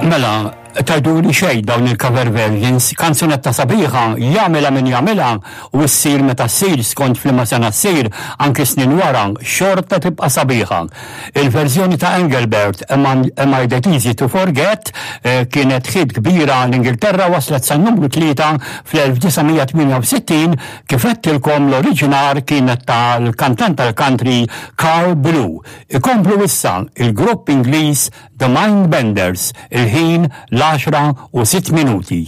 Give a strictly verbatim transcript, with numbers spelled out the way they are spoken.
Mela, tgħiduli xejn dawn il-cover versions, kanzunetta sabiħa, jagħmilha min jagħmilha u ssir meta ssir, skont f'liema sena ssir, anki snin wara, xorta tibqa' sabiħa. Il-verżjoni ta' Engelbert, Am I That Easy to Forget, eh, kienet hit kbira l-Ingilterra, waslet sa numru tlieta fl-elf disa' mija tmienja u sittin. Kif għedtilkom, l-oriġinar kienet tal-kantant tal-country Carl Blue. Ikomplu issa il-grupp Ingliż The Mindbenders, il-ħin l-għaxra u sitt minuti.